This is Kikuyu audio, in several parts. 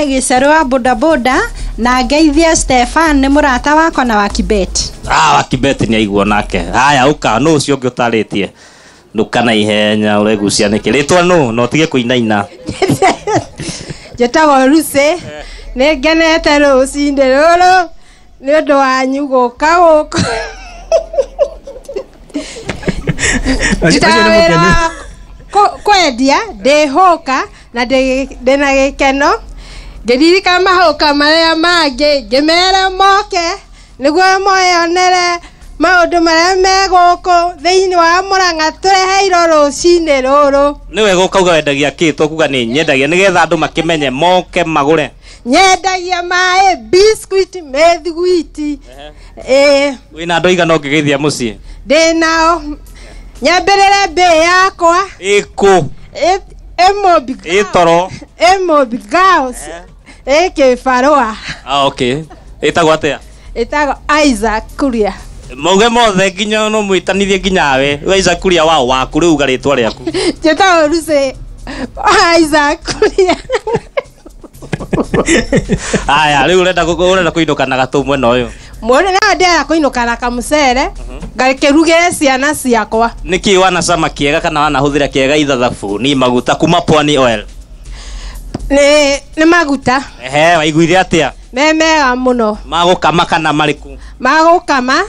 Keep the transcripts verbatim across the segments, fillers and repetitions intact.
Gĩcerũ wa bodaboda na ngeithie Stefan nĩ mũrata wakwa na wa Kibet. Ah, wa Kibet nĩ aiguo nake. Haya, ũka nũ ũcio ũngĩ ũtarĩtie? Nduka na ihenya ũregucia nĩkĩ? Rĩtwa nũ na ũtige kũinaina. Njĩtagwo Lucy, nĩ ngenete rũcinĩ rũrũ nĩ ũndũ wanyu gũka gũkũ. Ndutaga wĩra wa kũ- kwendia ndĩ hũka na ndĩ ndĩna gĩkeno ngĩririkana mahũka marĩa mangĩ ngĩmera moke nĩguo moyonere maũndũ marĩa me gũkũ thĩinĩ wa Mũrang'a tũreheirwo rũcinĩ rũrũ. Nĩ wega ũkauga wendagia kĩ to kuga nĩ nyendagia nĩgetha andũ makĩmenye moke magũre. Nyendagia maĩ, biscuit, mĩthiguiti. Ĩĩ. Wĩna andũ aigana ũngĩgeithia mũciĩ? Ndĩ nao. Nyambĩrĩre mbĩ yakwa. Ĩkũ? Ĩ- ĩmũmbi. Ĩ toro. Ĩmũmbi Girls. Ĩ kĩbarũa. Ah, okay. Ĩtagwo atĩa? Ĩtagwo Isaac Kuria. Mauge mothe nginya no mwĩtanithie nginya we. We Isaac Kuria wao waku rĩu uga rĩtwa rĩaku. Njĩtagwo Lucy Isaac Kuria. Aya, rĩu ũrenda kũ- ũrenda kũinũka na gatũ mwena ũyũ. Mũndũ no ndĩrenda kũinũka na kamũcere ngakĩrugĩre ciana ciakwa. Nĩkĩ wanacama kĩega kana wanahũthĩra kĩega ithathabuni maguta kuma Pwani Oil? Nĩ nĩ maguta. Ehe, waiguire atĩa? Me mega mũno. Magũkama kana marĩkũ? Magũkama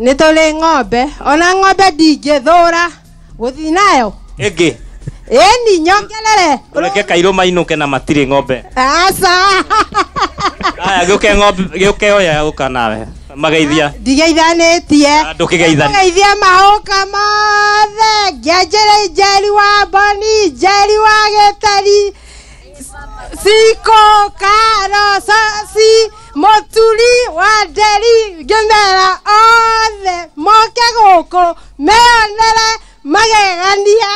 nĩ tũrĩ ng'ombe ona ng'ombe ndingĩthũra gũthiĩ nayo. Ĩngĩ. Ĩni nyongerere. Ũreke kairũ mainũke na matirĩ ng'ombe. Aca. Aya, gĩũke ng'ombe, gĩũke oya gũka nawe. Mageithia. Ndigeithanĩtie. Ndũkĩgeithania. Ngeithia mahũka mothe ngĩanjĩrĩ Njeri wa Mboni, Njeri wa Gĩtari, Siko, Karo, Soci, Mũturi wa Nderi, ngĩmera othe moke gũkũ meyonere magegania.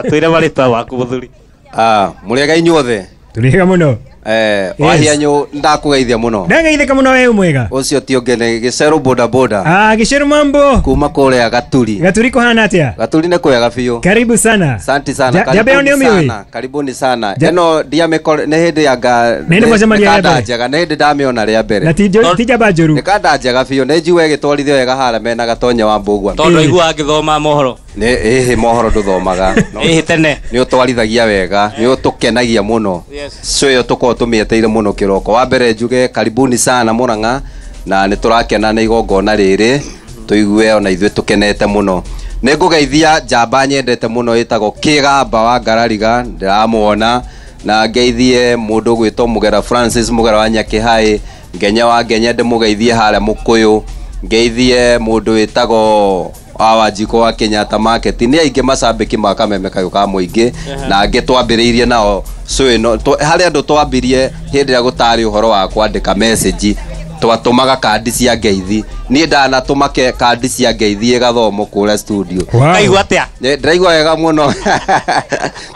Twĩre marĩtwa waku mũthuri. Ah, mũrĩega inyuothe. Tũrĩega mũno. Eh, wahianyu ndakugeithia mũno. Ndageithĩka mũno we mwega. Ũcio ti ũngĩ nĩ Gĩcerũ boda boda. Ah, Gĩcerũ mambo. Kuma kũrĩa Gaturi. Gaturi kuhana atĩa? Gaturi nĩ kwega biũ. Karibu sana. Asante sana. Ja- Jamba ĩyo nĩ Karibuni ũmĩũĩ? sana. Karibuni sana. Ja- Ĩno ndiamĩkore nĩ hĩndĩ ya nga Nĩ hĩndĩ mwacemania rĩa kanda mbere. njega nĩ hĩndĩ ndamĩona rĩa mbere. Na ti njo- ti njamba njũru. Nĩ kanda njega biũ nĩ njigua ĩgĩtwarithio wega harĩa mena Gatonye wa Mbũgua. Tondũ aiguaga ngĩthoma mohoro. Nĩ ĩhĩ mohoro ndũthomaga. No- Ĩhĩ tene. Nĩ ũtwarithagia wega, nĩ ũtũkenagia mũno. Yes. Show ĩyo tũkoragwo tũmĩeteire mũno kĩroko. Wa mbere njuge karibuni sana Mũrang'a na nĩ tũrakena nĩ igongona rĩrĩ tũigue ona ithuĩ tũkenete mũno. Nĩ ngũgeithia njamba nyendete mũno ĩtagwo Kĩgamba wa Ngarariga ndĩramuona na ngeithie mũndũ ũgwĩtwo Mũgera Francis Mũgera wa Nyakĩhaĩ Ngenya wa Ngenya ndĩmũgeithie harĩa Mũkũyũ ngeithie mũndũ wĩtagwo wa Wanjikũ wa Kenyatta Market nĩ aingĩ macambĩki ma Kameme kayũ ka mũingĩ na angĩ twambĩrĩirie nao show ĩno tw- harĩ andũ twambirie hĩndĩ ĩrĩa gũtarĩ ũhoro wa kwandĩka message twatũmaga kandi cia ngeithi niĩ ndanatũma ke- kandi cia ngeithi ĩgathomwo kũrĩa studio. Wow. Kaigua atĩa? Nĩ- ndĩraigua wega mũno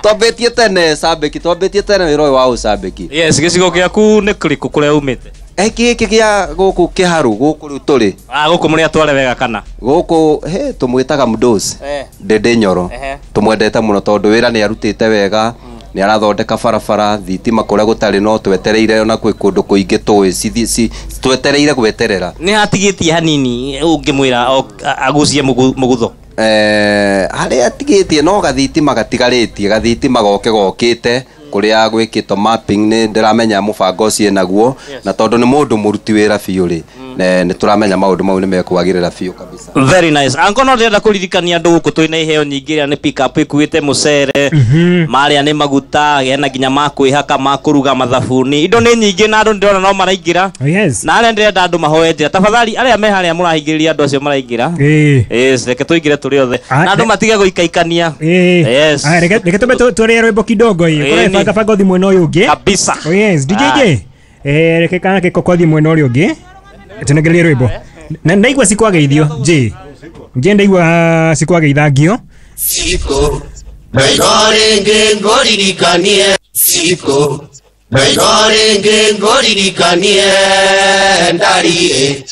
twambĩtie tene cambĩki twambĩtie tene wĩra ũyũ wa ũcambĩki. Yes, gĩcigo gĩaku nĩ kĩrĩkũ kũrĩa umĩte? Eh, gĩkĩ gĩa gũkũ kĩharu gũkũ rĩu tũrĩ. Ah, gũkũ mũrĩ atware wega kana? Gũkũ he tũmwĩtaga Mdos. Eh. Ndĩndĩ Nyoro. Ehe. Tũmwendete mũno tondũ wĩra nĩ arutĩte wega nĩ arathondeka barabara thitima kũrĩa gũtarĩ no twetereire ona kwĩ kũndũ kũingĩ tũĩ cithi- ci- twetereire gweterera. Nĩ hatigĩtie hanini ũngĩmwĩra o- a- agucie mũgu- mũgutho. Eh, harĩa atigĩtie no gathitima gatigarĩtie gathitima goke gokĩte kũrĩa gwĩkĩtwo mapping nĩ ndĩramenya mũbango ũcio naguo na tondũ nĩ mũndũ mũruti wĩra biũ rĩ ne- nĩ tũramenya maũndũ mau nĩ mekwagĩrĩra biũ kabisa. Very nice. Anko no ndĩrenda kũririkania andũ gũkũ twĩna iheo nyingĩ ĩrĩa nĩ pick up ĩkuĩte mũcere marĩa nĩ maguta hena nginya ma kwĩhaka ma kũruga mathabuni indo nĩ nyingĩ na andũ ndĩrona no maraingĩra. Oh, yes. Na arĩa ndĩrenda andũ mahoe njĩra tafadhali arĩa me harĩa mũrahingĩrĩria andũ acio maraingĩra. Ĩĩ. Yes, reke tũingĩre tũrĩ othe Ah, na andũ ne- matige gũikaikania. Ĩĩ. Yes. Aya, reke reke tũmbe tũ- tũrĩe rwĩmbo kidogo ĩ. Ĩĩ, Kũrĩa ni. banga banga ũthiĩ mwena ũyũ ũngĩ. Kabisa. Oh yes, D J Ah. J. Eh, reke kana gĩkoko thiĩ mwena ũrĩa ũngĩ. Tũnengererie rwĩmbo. Na ndaigua cikwageithio, J. J ndaigua cikwageithangio. Siko ndaiga rĩngĩ ngũririkanie siko ndaiga rĩngĩ ngũririkanie ndariĩ.